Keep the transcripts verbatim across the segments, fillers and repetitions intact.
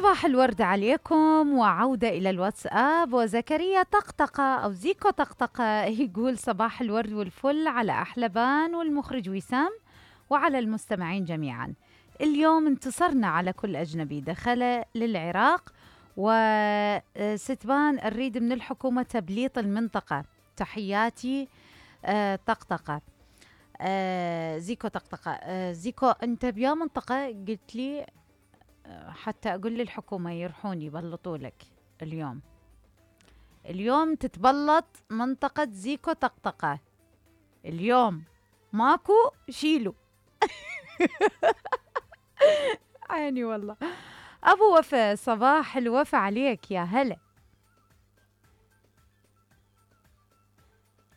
صباح الورد عليكم وعودة إلى الواتساب. وزكريا طقطقة أو زيكو طقطقة يقول صباح الورد والفل على أحلبان والمخرج وسام وعلى المستمعين جميعا. اليوم انتصرنا على كل أجنبي دخل للعراق، وستبان نريد من الحكومة تبليط المنطقة. تحياتي آه طقطقة آه زيكو طقطقة آه زيكو، أنت بيا منطقة قلت لي حتى أقول للحكومة يرحوني يبلطوا لك اليوم. اليوم تتبلط منطقة زيكو طقطقة اليوم، ماكو شيلوا. عيني والله. أبو وفا، صباح الوفا عليك يا هلا.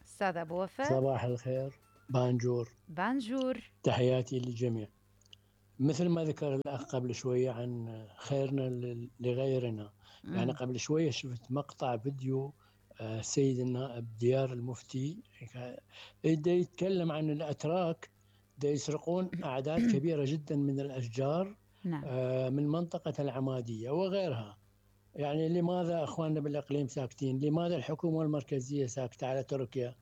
أستاذ أبو وفا، صباح الخير. بانجور بانجور، تحياتي للجميع. مثل ما ذكر الأخ قبل شوية عن خيرنا لغيرنا، مم. يعني قبل شوية شفت مقطع فيديو السيد النائب ديار المفتي دا يتكلم عن الأتراك دا يسرقون أعداد كبيرة جدا من الأشجار نعم. من منطقة العمادية وغيرها. يعني لماذا أخواننا بالإقليم ساكتين؟ لماذا الحكومة المركزية ساكتة على تركيا؟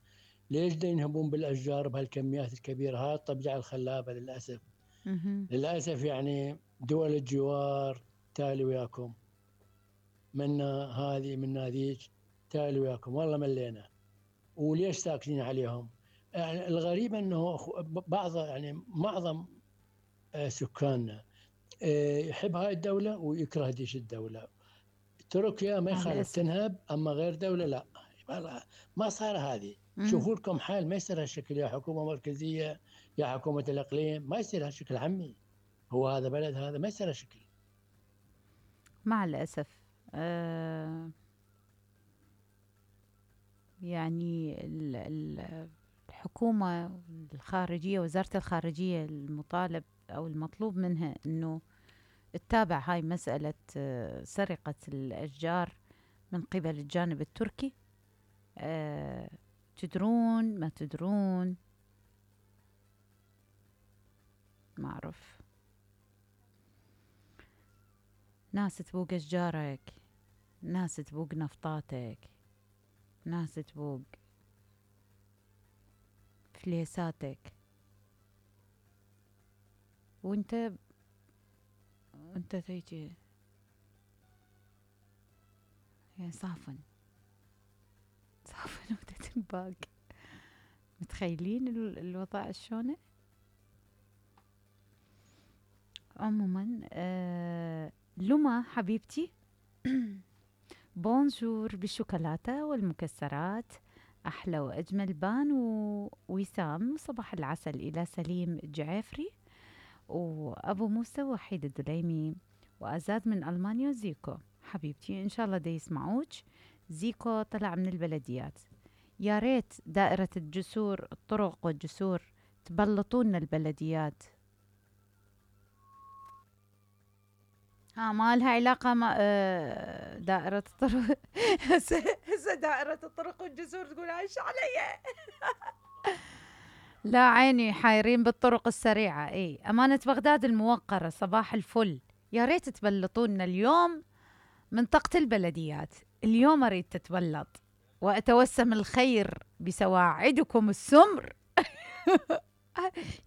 ليش دا ينهبون بالأشجار بهالكميات الكبيرة؟ هذا الطبيعة الخلابة للأسف. مهم. للأسف يعني دول الجوار تالي وياكم، منا هذه منا ذيك، تالي وياكم، والله ملينا. وليش ساكتين عليهم؟ يعني الغريب أنه بعض يعني معظم سكاننا يحب هاي الدولة ويكره ديش الدولة. تركيا ما يخالف تنهب، أما غير دولة لا. ما صار هذه. شوفوا لكم حال، ما يصير هالشكل يا حكومة مركزية يا حكومة الإقليم، ما يصير هالشكل عمي. هو هذا بلد، هذا ما يصير هالشكل. مع الأسف آه يعني ال ال الحكومة الخارجية، وزارة الخارجية، المطالب أو المطلوب منها أنه تتابع هاي مسألة سرقة الأشجار من قبل الجانب التركي. أه تدرون ما تدرون ما أعرف، ناس تبوق أشجارك، ناس تبوق نفطاتك، ناس تبوق فليساتك، وانت وانت تيجي يعني صافن صافن وتتنباق. متخيلين الوضع شلونه؟ عموما آه لما حبيبتي بونجور بالشوكولاتة والمكسرات، أحلى وأجمل بان ووسام. صباح العسل إلى سليم الجعافري وأبو موسى وحيد الدليمي وأزاد من ألمانيا. زيكو حبيبتي إن شاء الله دا يسمعوك. زيكو طلع من البلديات. يا ريت دائرة الجسور، الطرق والجسور تبلطون البلديات. ها ما لها علاقة مع آه دائرة الطرق. هسه دائرة الطرق والجسور تقول عايش علي. لا عيني، حايرين بالطرق السريعة. اي أمانة بغداد الموقرة، صباح الفل. يا ريت تبلطونا اليوم منطقة البلديات. اليوم أريد تتبلط وأتوسم الخير بسواعدكم السمر.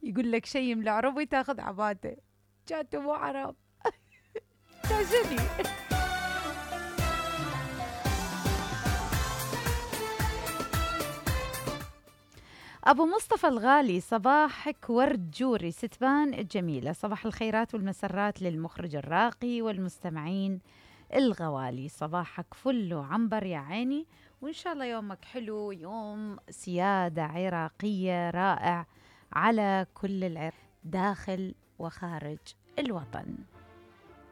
يقول لك شيء من العربي تاخذ عباته، جاتوا مو عرب. تاجني. أبو مصطفى الغالي، صباحك ورد جوري ستبان الجميلة. صباح الخيرات والمسرات للمخرج الراقي والمستمعين الغوالي. صباحك فل وعنبر يا عيني، وإن شاء الله يومك حلو، يوم سيادة عراقية رائع على كل العراق داخل وخارج الوطن.